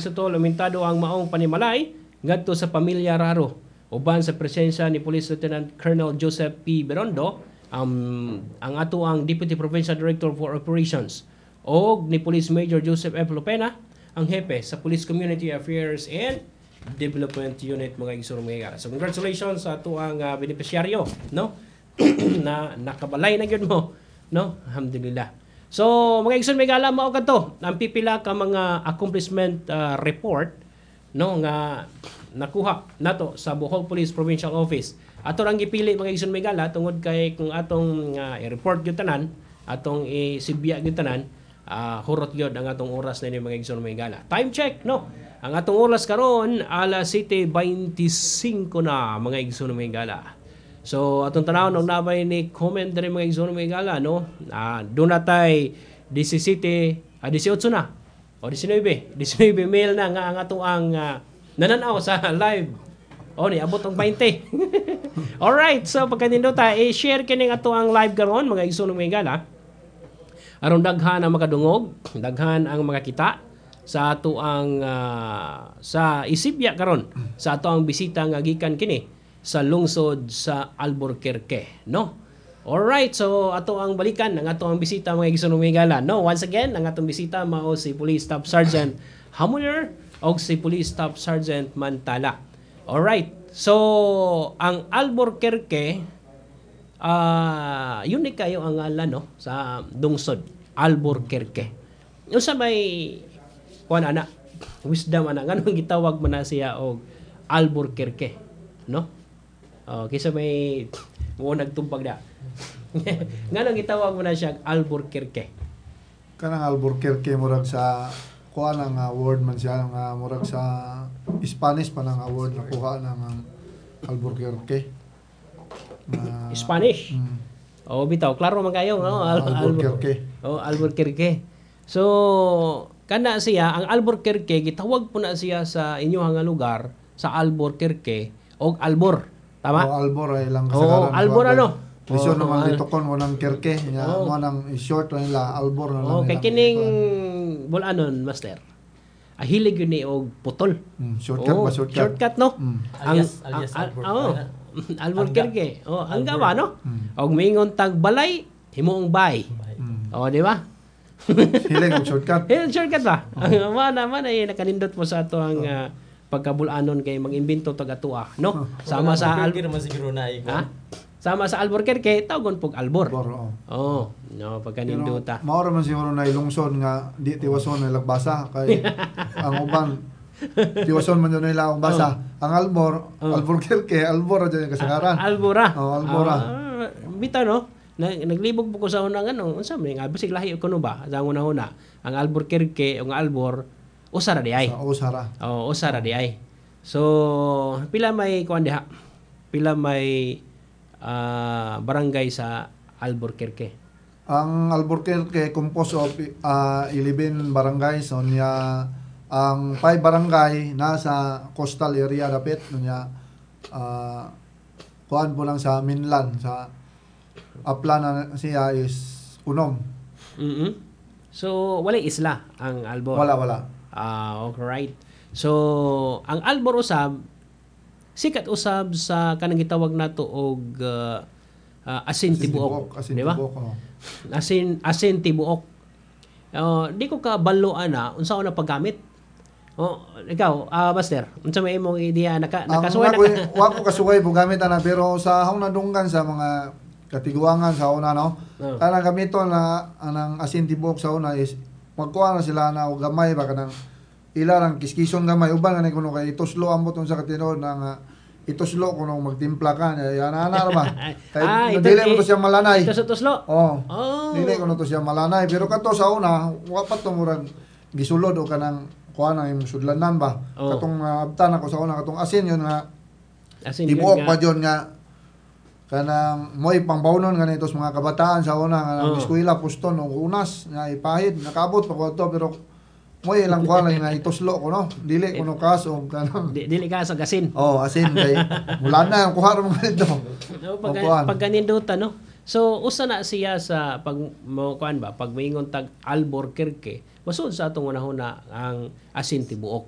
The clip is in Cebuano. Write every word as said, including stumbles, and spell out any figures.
Sotol, umentado ang maong panimalay ngadto sa pamilya Raro uban sa presensya ni Police Lieutenant Colonel Joseph P. Berondo, um, ang ato ang Deputy Provincial Director for Operations, og ni Police Major Joseph F. Lopena, ang hepe sa Police Community Affairs and Development Unit, mga igsoon mga higala. So congratulations sa ato ang uh, benepisyaryo, no, na nakabalay na gyud mo, no? Alhamdulillah. So mga igsoon mga higala, mao kadto ang pipila ka mga accomplishment uh, report, no, nga nakuha nato sa Bohol Police Provincial Office. Ato rang gipili, mga igsoon mga higala, tungod kay kung atong uh, i-report gyud tanan, atong isibya gyud tanan, uh, hurot gyud ang atong oras na mga igsoon mga higala. Time check, no? Ang atong oras karon, alas siyete twenty-five na, mga igsoon mga higala. So atong tanawon og nabay ni comment diri, mga igsoon mga higala, no. Ah, duna tay labing-siyete, ah, labing-otso na o labing-nuwebe, labing-nuwebe male na nga ang ato ang uh, nananaw sa live. O ni abot og twenty. Alright, so pagkanindota, i-share kining ato ang live karon, mga igsoon mga higala, aron daghan ang makadungog, daghan ang makakita sa ato ang ah, sa isibya karon sa ato ang bisita nga gikan kini sa lungsod sa Alburquerque, no? Alright, so ato ang balikan ang ato ang bisita, mga igsoon mga higala, no? Once again, ang atong bisita mao si Police Staff Sergeant Hamuner og si Police Staff Sergeant Mantala. Alright. So ang Alburquerque, ah unique kayo ang ngalan, no, sa lungsod, Alburquerque. Unsa may kuan ana, wisdom ana, nganong gitawag man na siya og Alburquerque, no? Oh, kaysa may mo nagtumpag da. Nganong gitawag mo na siya og Alburquerque? Kanang Alburquerque, murag sa kuha na nga word man siya nga murag sa Spanish pa na nga word nakuha na nga Alburquerque. Na, Spanish. Mm, Oh, bitaw klaro man kayo, no? Al- Alburquerque. Oh, Alburquerque. So, kana siya ang Alburquerque, gitawag po na siya sa inyong nga lugar sa Alburquerque og Albor. Tama? O Albor ay lang Oo, kasagaran. Albor ano? Lisod Oo, naman al- litukon mo ng Kerke. Nya Oo. mo nang i-short na nila Albor na lang. Oh, kay ilang kining ikuan. Bulanon, master. Ahilig yun ni og putol. Mm, shortcut Oo, ba, shortcut? Shortcut, no? Mm. Alias, alias ang, Albor. Oh, Alburquerque. Oh, angga ba, no? Mm. Og miingon tag balay, himuong bay. Mm. Oh, di ba? Hilig og shortcut. Eh, shortcut ba? Ang mana mana eh, nakanindot mo sa ato ang ah, pagkabulanon kay mag-imbento tag atua, no? Sama sa Al- Alburquerque naman siguro na ikaw. ha? Sama sa Alburquerque, tawgon pog Albor. Albor, oo. Oh, no, pagkanindota. Pero mao ra man siguro na ilungsod nga di tiwason na lagbasa kay ang uban tiwason man yun nila ang basa. Ang Albor, Oh. Alburquerque, Albor ra dyan yung kasagaran. Albora. Oh, Albora. Ah, bitaw, no? Na, naglibog po ko sa unang ano, unsa man nga bisig lahi ko no ba? Sa una-una, ang Alburquerque o ang Albor usa ra di ay. Sa Usara. Oo, usa ra di ay. So, pila may kuan diha? Pila may ah, barangay sa Alburquerque? Ang Alburquerque composed of uh, eleven barangays. So niya ang five barangay nasa coastal area dapit niya, uh, kuan po lang sa mainland, sa upland na siya is unom. mm So, walay isla ang Albor. Wala, wala. Ah, alright. So, ang Albor usab sikat usab sa kanang gitawag nato og uh, uh, asin tibuok, Asin di ba? tibuok, oh. Asin asin tibuok. Uh, di ko kabalo ana unsa na paggamit. Oh, ikaw, ah, master, unsa may imong idea, naka Ang nakasuway na ako, ka? wa ko kasuway po gamit ana, pero sa akong nadunggan sa mga katiguangan sa una, no, Oh. kanang gamiton na anang asin tibuok sa una is magkuha na sila na og gamay ba, kanang ila rang kiskison gamay uban nga kuno kay ituslo ambot unsa ka tinuod na nga ituslo kuno magtimpla ka ya ana ana ra ba kay Ah, ito- dili mo to siya malanay. Ito sa tuslo. Oh. Oh. Dili kuno to siya malanay, pero kato sa una wa pa to murag gisulod o kanang kuha na imong sudlanan ba, Oh. katong uh, abtan ako sa una, katong asin yun nga Asin tibuok yun pa nga. yun nga kanang mo'y pangbawnon ganito sa mga kabataan sa una nga Oh. oh. eskwela puston og unas nga ipahid nakaabot pa ko to, pero mo'y ilang kuha lang nga ituslo ko, no, dili kuno kas og kanang Di, dili ka sa gasin. Oh, asin kay mula na ang kuha ra mga dito. No, pag, O, kuan. pagkaninduta, no? So, usa na siya sa pag mo kuan ba, pag moingon tag Alburquerque, masud sa atong unahuna ang asin tibuok.